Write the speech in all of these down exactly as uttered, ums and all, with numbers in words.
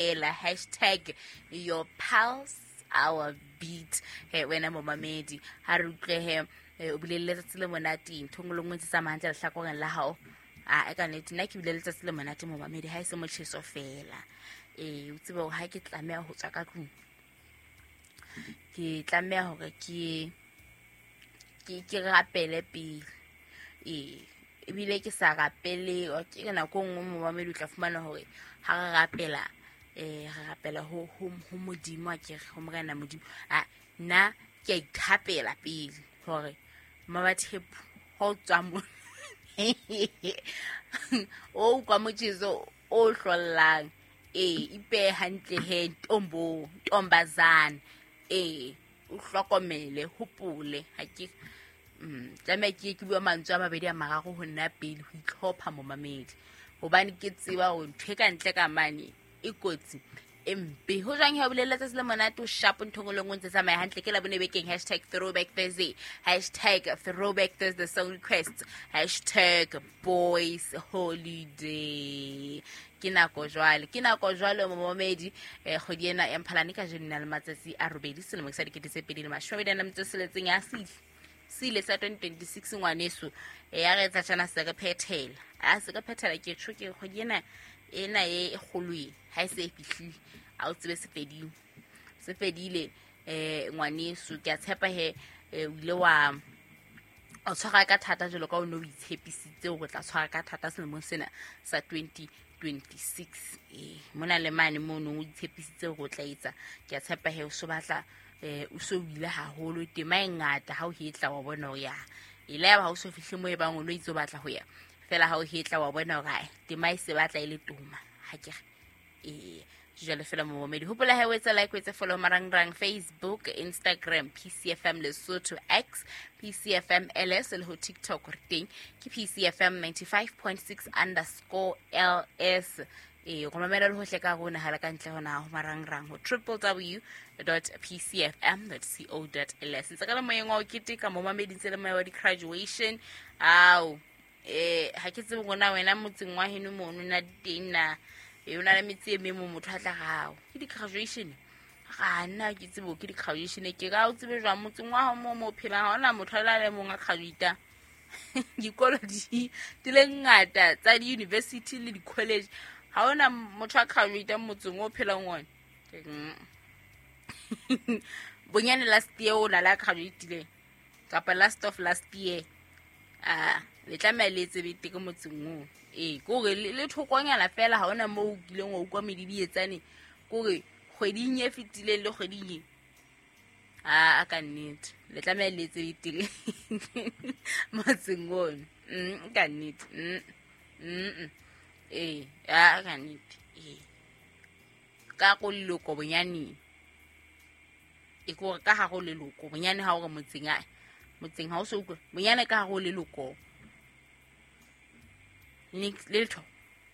Ela hashtag your pulse our beat. He wena momamedi, ha re utlwe he o bile le letsatsi le monate, ntho nngwe le nngwe tse tsamayang hantle lehlakoreng la hao. A e ka nnete nna ke bile letsatsi le monate momamedi, ha e se motjheso fela. Ee, o tsebe hore ha ke tlameha ho tswa ka tlung, ke tlameha hore ke ke ke rapele pele. Ee, ebile ke sa rapele, ke nako e nngwe momamedi o tla fumana hore ha re rapela, eh re rapela ho ho ho Modimo, akere ho Morena Modimo. A nna ke a ithapela pele hore Mmabathepu ha o tswa mo o utlwa motjheso o hlollang. Ee, ipehe hantle he ntombo, ntombazana. Ee, o hlokomele, hopole ha ke mm tlameha ke ke bua mantswe a mabedi a mararo ho nna pele ho itlhopha momamedi, hobane ke tseba hore ntho e ka ntle ka mane e kotsi e mpe. Ho jwang he o bile letsatsi le monate, o sharp, ntho nngwe le nngwe ntse tsamaya hantle. Ke Labone bekeng, hashtag throwback Thursday, hashtag throwback Thursday song request, hashtag boys holiday. Ke nako jwale, ke nako jwale momamedi. Eh kgwedi ena ya Mphalane kajeno na le matsatsi a robedi selemo sa dikete tse pedi le mashome a mabedi a nang le metso e tsheletseng ya sile sile sa twenty twenty-six ngwaneso. E ya re etsa tjana se re phethela, a se re phethela ke tjho ke kgwedi ena ena e kgolo e ha e se e fihlile, a o tsebe se fedile, se fedile. Eh ngwaneso, ke a tshepa he o ile wa o tshwara ka thata jwalo ka o ne o itshepisitse hore o tla tshwara ka thata selemong sena sa twenty twenty-six. Eh mona le mane mono o itshepisitse hore o tla etsa, ke a tshepa he o so batla eh o so ile haholo, tema e ngata ha o hetla wa bona hore ya ile ya ba ha o so fihle mo e bang o no itse o batla ho ya fela, ha o hetla wa bona hore tema e se batla e le toma ha ke re. Eh jwale fela momamedi, hopola he o etsa like, o etse follow marangrang Facebook, Instagram P C F M Lesotho, X P C F M L S le ho TikTok re teng ke P C F M ninety-five point six underscore L S. Eh go mamela le hohle ka rona ha le ka ntle hona ho marangrang ho triple w dot p c f m dot co dot l s. Ntse ka le moyeng wa ho keteka momamedi, ntse le moya wa di-graduation. Ao eh ha ke tsebe ngwana wena motseng wa heno mono na teng na e o na le metse e meng mo motho a tla gao ke di-graduation, ga nna ke tsebo ke di-graduation ke ka o tsebe jwang motseng wa hao mo mo phelang ha hona motho a le mong a graduate. Dikolo di di le ngata tsa di-university le di-college, ha hona motho a graduate motseng o phelang ona. Bonyane last year o la la graduate kapa last of last year, ah le tlameha le etse bete ke motseng oo. Ee, ke hore le thokonyana fela ha hona moo o kileng wa utlwa medidietsane, ke hore kgweding e fetileng le kgweding e a ka nnete le tlameha le etse betere motseng ono. Mm ka nnete. Mm mm ee, a ka nnete. Ee, ka go leloko bonyane, e ke hore ka ha go leloko bonyane ha o re motseng a motseng ha o so utlwe bonyane ka ha go leloko letho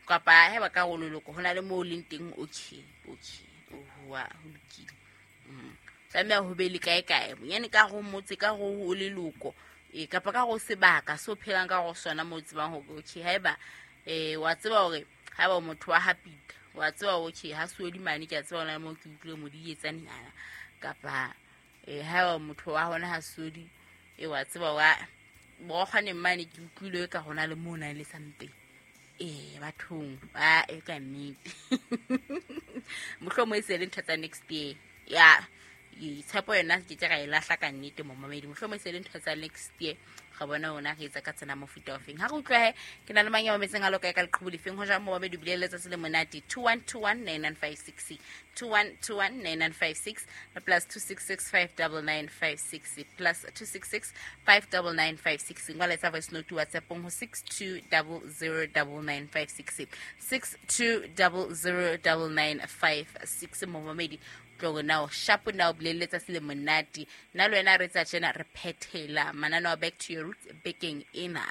kapa ha ba ka go leloko ho na le moo leng teng. Okay, okay, oa ho lokile. Mm tlameha ho be le kae kae bonyane ka go motse ka go o leloko e kapa ka go sebaka so phelang ka go sona mo tsebang hore okay haeba eh wa tseba hore haeba motho wa hapita wa tseba okay ha suodi mane ke a tseba hona moo ke utlwile modietsane nyana kapa eh haeba motho wa hona ha suodi e wa tseba wa bo kgone mane ke utlwile ka hona le mo na le something. Eh bathong ba e ka nnete mohlomo e se le ntho tsa next year ya tshepo yona ke tla e lahla ka nnete momamedi, mohlomo e se le ntho tsa next year ga bona ona re etsa ka tsena mofuta o feng. Ha re utlwe he ke na le mang ya mametseng a loka ka leqhubu lefeng ho jang momamedi bile letsatsi le monate two one two one nine nine five six two one two one nine nine five six plus two six six five nine nine five six plus two six six five nine nine five six. Ngwala tsa voice note WhatsApp ho six two zero zero nine nine five six six two zero zero nine nine five six. Momamedi tlo now sharp now bile letsatsi le monate nna le wena re tsa tjena re phethela mananeo back to your roots bekeng ena.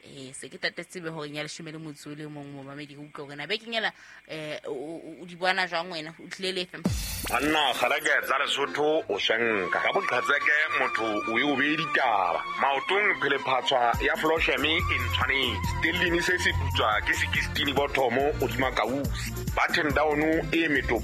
Eh se ke tatetse be hore nya leshome le motso le mong momamedi o utlwe hore na bekeng ena eh o di bona jwang wena o tlile lefe banna kgalake tsa Lesotho o shenka ka boqhatseke motho o e o be ditaba maotong phele phatswa ya Flosheme e ntshwanetse stellini se se putswa ke sixteen bottomo o dima kausi button down e metopa